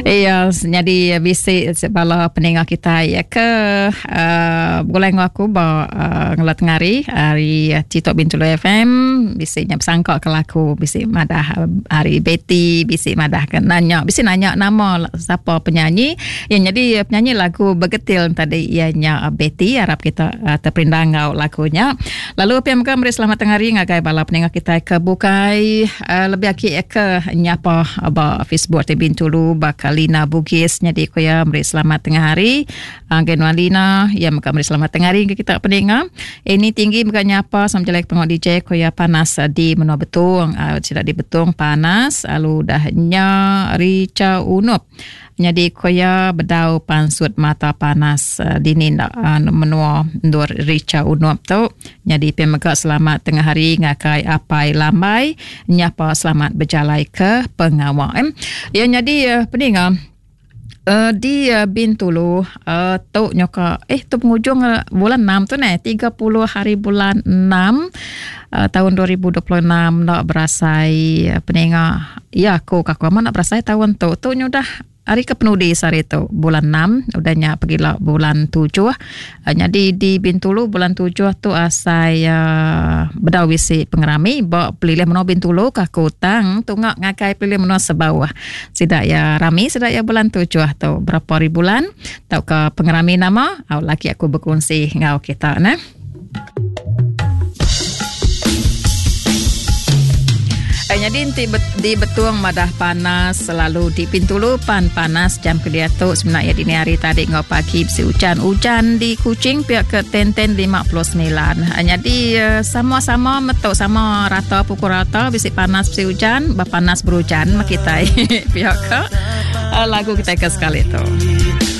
Iya, nyadi bisi bala peninga kitai ya ke uh, begulai enggau aku ba uh, ngelat ngari hari Citok Bintulu FM bisi nya besangka ke laku bisi madah hari Betty bisi madah ke nanya bisi nanya nama siapa penyanyi yang jadi penyanyi lagu Begetil tadi iya nya Betty harap kita uh, terperindang enggau lagunya lalu pia mega meri selamat tengah hari ngagai bala peninga kitai ke bukai uh, lebih agi ke nyapa ba Facebook ti Bintulu baka Lina Bugis nyadi ku iya meri selamat tengah hari ngagai nuan Lina iya mega meri selamat tengah hari ngagai kita peninga ini tinggi mega nyapa sama jalai pengawa DJ ku iya panas di menua Betong uh, sida di Betong panas lalu udah nya Richa Unup Nyadi ku iya bedau pansut mata panas dini enda menua endur Richa Unup tu. Nyadi pia mega selamat tengah hari ngagai Apai Lambai nyapa selamat bejalai ke pengawa. Iya nyadi peninga di Bintulu tu nyoka eh tu pengujung bulan enam tu neh 30 hari bulan enam taun 2026 enda berasai peninga iya aku ka aku amat enda berasai taun tu. Tu nyudah hari ke penudi sehari tu bulan enam udah nya pegila bulan tujuh. Nyadi di Bintulu bulan tujuh tu asai bedau bisi pengerami ba pelilih menua Bintulu ka aku tang tunga ngagai pelilih menua Sebauh. Sida iya rami sida iya bulan tujuh tu berapa hari bulan tauka pengerami nama au lagi aku bekunsi enggau kita neh. Eh, nyadi enti di Betung madah panas selalu di Bintulu pan panas jam ke diatu semina iya dini hari tadi enggau pagi bisi ujan. Ujan di Kuching pia ke ten-ten 59. Eh, nyadi eh, sama-sama metu sama rata pukul rata bisi panas bisi ujan, ba panas berujan mah kitai pia ke lagu kitai ke sekali tu.